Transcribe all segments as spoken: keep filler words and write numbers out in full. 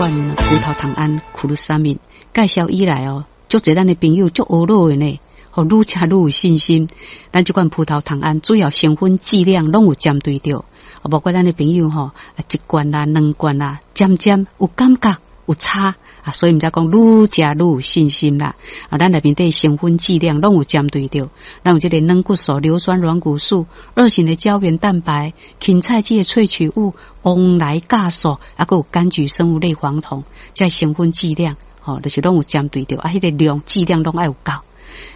款葡萄糖胺苦鲁三敏介紹以來哦，足濟咱的朋友足懊惱的呢，吼，愈食愈有信心。咱這款葡萄糖胺主要成分劑量攏有針對著，無怪咱的朋友吼，一罐啦、兩罐啦，漸漸有感覺有差啊，所以毋才講愈食愈有信心啦。啊，咱內面底成分劑量攏有針對著，咱有這個軟骨素、硫酸軟骨素、二型的膠原蛋白、芹菜籽的萃取物、黃來酵素，啊，閣有柑橘生物類黃酮，這成分劑量吼，就是攏有針對著，啊，彼個量劑量攏愛有夠，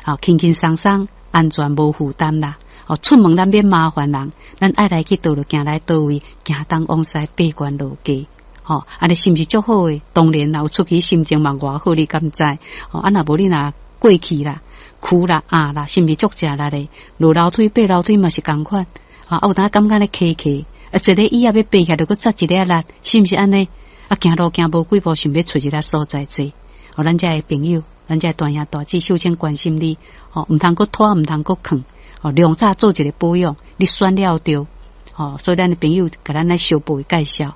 好輕輕鬆鬆，安全無負擔啦。哦，出門咱免麻煩人，咱愛來去佗就行來佗位，行東往西，爬懸落低。吼，按呢是毋是足好的？當然啦，有出去心情嘛偌好，你敢知？吼，啊若無你若過去啦、跍啦、壓啦，是毋是足食力的？落樓梯、爬樓梯嘛是仝款。啊，有當感覺咧磕磕，啊，一個椅仔欲爬起來，就閣扎一下力，是毋是按呢？啊，行路行無幾步，想欲揣一个所在坐。哦，咱遮的朋友，咱遮大兄大姊，秀清關心你，吼，毋通閣拖，毋通閣囥，吼，量早做一个保養，你選了著。吼，所以咱的朋友共咱來小步介紹。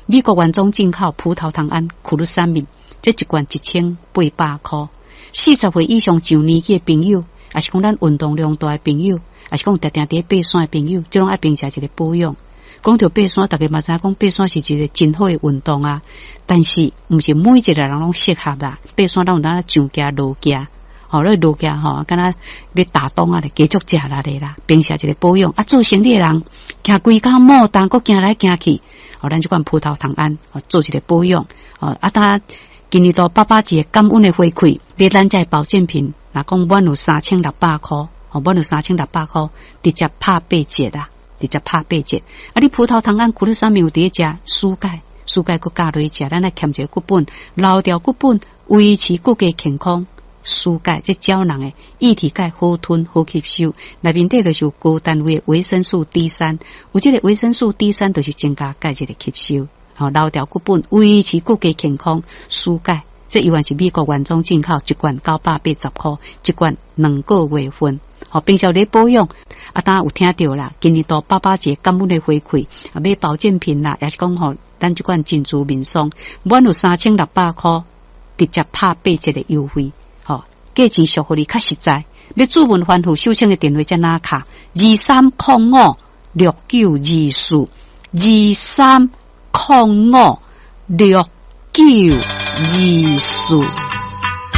美國原裝進口葡萄糖胺苦魯三敏，這一罐一千八百箍。四十歲以上上年紀的朋友，抑是講咱運動量大的朋友，抑是講定定佇咧爬山的朋友，這攏愛平常一个保養。講著爬山，大家嘛知影講爬山是一个真好的運動啊。但是毋是每一個人攏適合啦。爬山咱有當上行落行，吼，你落行吼，敢若咧打樁仔咧，加足食力的啦。平時一个保養啊，做生理的人，徛規工莫動，閣行來行去，哦，咱這款葡萄糖胺，哦，做一个保養，哦，啊，當今年度爸爸節感恩的回饋，買咱遮的保健品，若講滿有三千六百箍，哦，滿有三千六百箍，直接拍八折啦，直接拍八折。啊，你葡萄糖胺苦魯三敏有佇咧食舒鈣，舒鈣閣加落去食，咱來添一个骨本，留掉骨本，維持骨骼健康。舒鈣這膠囊的液體鈣好吞好吸收，內面底就是有高單位的維生素 D 三，有這個維生素 D 三就是增加鈣質的吸收，吼，留掉骨本，維持骨骼健康。舒鈣這猶原是美國原裝進口，一罐九百八十箍，一罐兩個月份。吼，平常咧保養，啊，當有聽著啦，今年度爸爸節感恩的回饋，啊，買保健品啦，抑是講吼，咱這款珍珠面霜，滿有三千六百箍，直接拍八折的優惠。價錢俗予你較實在，欲諮問番號，秀清的電話這哪敲？二三空五六九二四，二三空五六九二四。